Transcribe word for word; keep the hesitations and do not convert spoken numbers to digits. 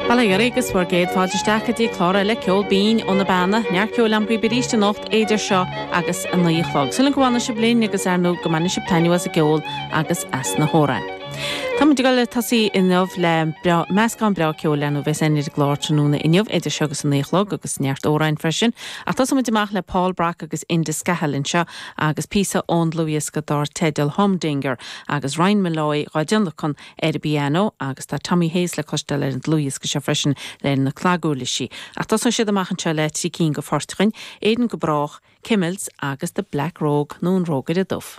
Bail ó Dhia oraibh agus bhur gcéad fáilte isteach go dtí clár eile ceol binn ó na Beanna, neart ceoil agam daoibh arís anocht idir seo agus a naoi a chlog. Súil agam go bhfanfaidh sibh linn agus ar ndóigh go mbainfidh sibh taitneamh as an gceol agus as na hamhráin. Táimid ag dul ag tosaí inniu le meascán breá ceoil ar ndóigh bheas ar an gclár tráthnóna inniu idir seo agus a naoi a chlog agus neart amhráin freisin. Ach tosóimid amach le Paul Brock agus Enda Scahill anseo agus píosa ón dlúthdhiosca dar teideal Humdinger agus Ryan Molloy dhá dtionlacan ar an bpianó agus tá Tommy Hayes le cloisteáil ar an dlúthdhiosca seo freisin le na claguirlisí. Ach tosóidh siad amach anseo le trí cinn de phoirt againn, Éirinn go brách, Kimmels agus The Black Rogue nó an Rógaire Dubh.